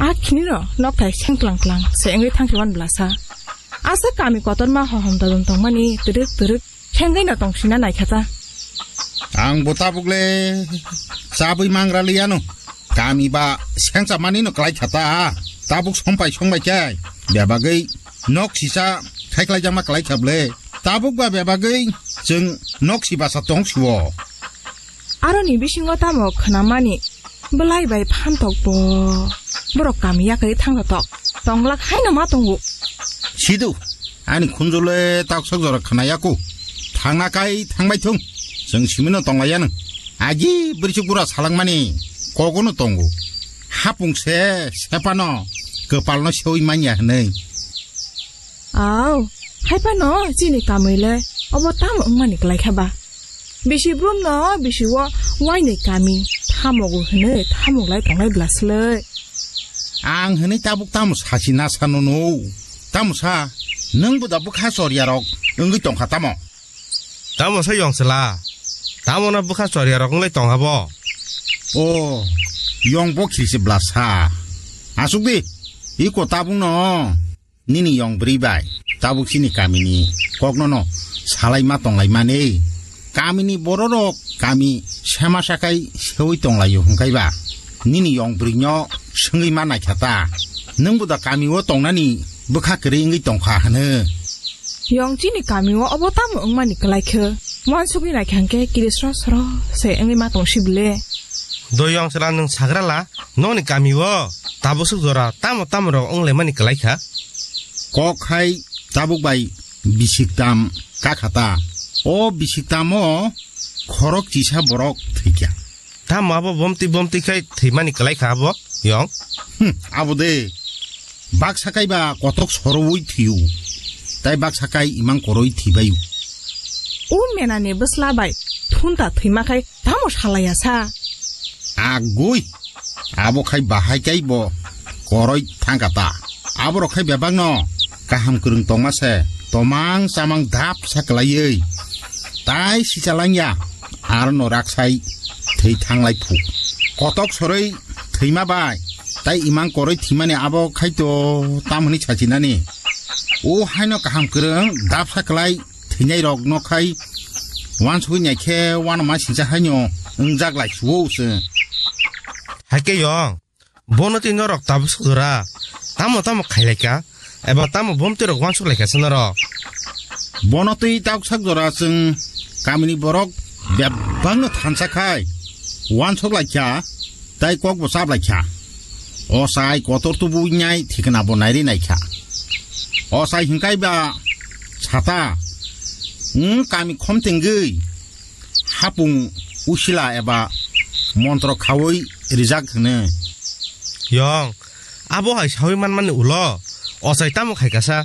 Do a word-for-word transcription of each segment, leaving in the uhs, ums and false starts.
Akhinino nokthai sengklang klang se wngwi thangkhe wan blasa. Asa kami kotorma hohom dodom tongmani twrwk twrwk sengwi no tongsina naikha ta. Ang bo tabuk le chabwi mangra liyano. Kami ba sengcha mani no klai kha ta. Tabuk sompai songbai khe bebagwi nok sisa khaiklai jakma klai kha ble. Tabuk ba bebagwi chwng nok si basa tong siwo. Aroni bisingo tamo khwnamani belai bai phantok bo. Borok kami yakarwi thanglatok. Tonglak haino ma tongo. Sidu, ani khunjole taksok jora khwnayaku. Thangna kai thangbai thung. Chwng simino tonglaiyano. Agi bwrwichuk bura salangmani kogono tongo. Hapung se sepano kwpalno sewi manya hwnwi. Au, hai phano chini kamwi le obo tamo wngmani kwlai kha ba? Bisi brum no bisi o wainwi kami thamogo hwnwi thamok lai tonglai bwla swlwi. Ang hwnwi tabuk tamo sachi na sano no? Tamo sa, nwng bo da bwkha chorya rok wngwi tongkha tamo? Tamo sa yong chwla? Tamo no bwkha chorya rok wnglai tongha bo? O, yong bo khiri se bwla sa. Asuk di, iko tabuk no. Nini yong bwrwi bai tabuk chini kamini koknono salai ma tonglai mani. Kamini bororok kami sema sakai sewi tonglaio hwnkhe ba nini yong bwrwino swngwi ma naikha ta. Nwng bo da kamio tongnani bwkha kwrwi wngwi tongkha hwno. Yong chini kamio obo tamo wngmani kwlai khe? Uansugwi naikha hwnkhe kirisro sro se wngwi ma tong sibile. Do yong chwla nwng sagra la? Nokni kamio tabuk swk jora tamo tamo rok wnglaimani kwlai kha. Kok hai tabuk bai bisik tam kakha ta. O bisik tamo khorok chisa borok thwikya. Tamo abo bomtwi bomtwi khai thwimani kwlai kha abo yong? Hmm, abo de. Baksa kai ba kotok sorowi thiyo. Tai baksa kai imang koroi thibayu. O menani bwsla bai thunta thwima khai tamo salaya sa? Agui. Abo khai bahai kai bo koroi thangka ta. Aborok khai bebakno kaham kwrwng tongma se tomang chamang dap sa kwlaiwi. Tai sicha langya, arono raksai thwi thanglai phu. Kotok soroi thwima bai, tai imang koroi thwimani abo khai to tamhwnwi sachinani. O haino kaham kwrwng dap sa kwlai thwinai rokno khai wansugwi nai khe uanama singcha haino wngjak lai suo se. Hai khe yong, bono twi norok tabuk suk jora tamo tamo khai lai kha, eba tamo bomtwi rok uansuk lai kha se norok? Bono twi tabuk sak jora chwng kamini borok bebakno thansa khai uansuk lai kha. Tai kok bo chap lai kha. O chai kotor tubu nai thikna bo nairi nai kha. O chai hingkai ba sata, wng kami khom tengwi hapung usila eba montro khawi rijak hwno. Yong, abo hai sawi manmani ulo o chai tamo khai kasa?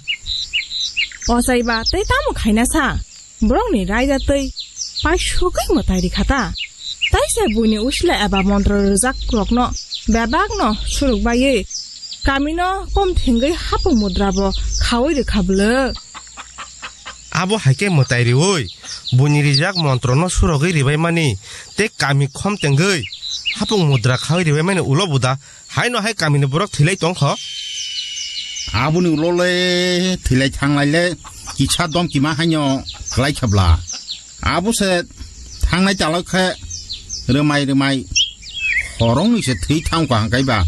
O chai ba tei tamo khaina sa? Borokni raida tei pai sugwi mwtai rikha ta. Tai se buini usila eba montro rwjak rokno bebakno suruk baiwi kamino kom thengwi hapung mudra bo khawi rikha bwlwk. Abo hai khe mwtai riwi buini rijak montrono surogwi ribaimani tei kami khom tengwi hapung mudra khawi ribaimani ulo buda haino hai kamini borok thwilai tongkho. Aboni ulo le thwilai thanglai le kisa domkima haino kwlai kha bla. Abo se thangnai talok khe rwmai rwmai horongni se thwi thangkha hwnkhe ba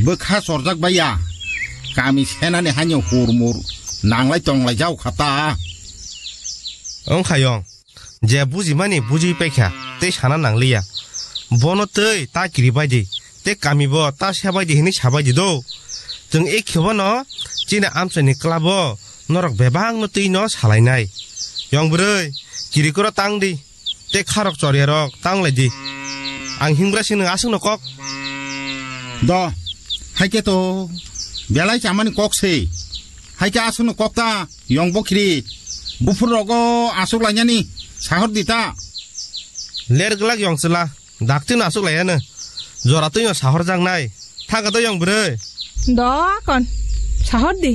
bwkha chorjak baiya kami senani haino hurmur nanglai tonglai jaukha ta. Wngkha yong. Je bujimani buji paikha tei sana nangliya. Bono tei ta kiri baidi tei kamibo ta sebaidi hinwi sabaidi do. Chwng e khibano chini amchaini club-o norok bebakno twino salainai. Yong bwrwi, kirikoro tangdi tei kharok choryarok tanglaidi. Ang hingra sini aswkno kok. Do, haikhe to belai chamani kok se. Haikhe aswkno kok ta. Yong bokri, buphur rogo aswk lainani, sahor di ta. Ler glak yong chwla, dakti no aswk laiyano. Jora twi no sahor jak nai, thangka do yong bwrwi. Do kon, sahor di.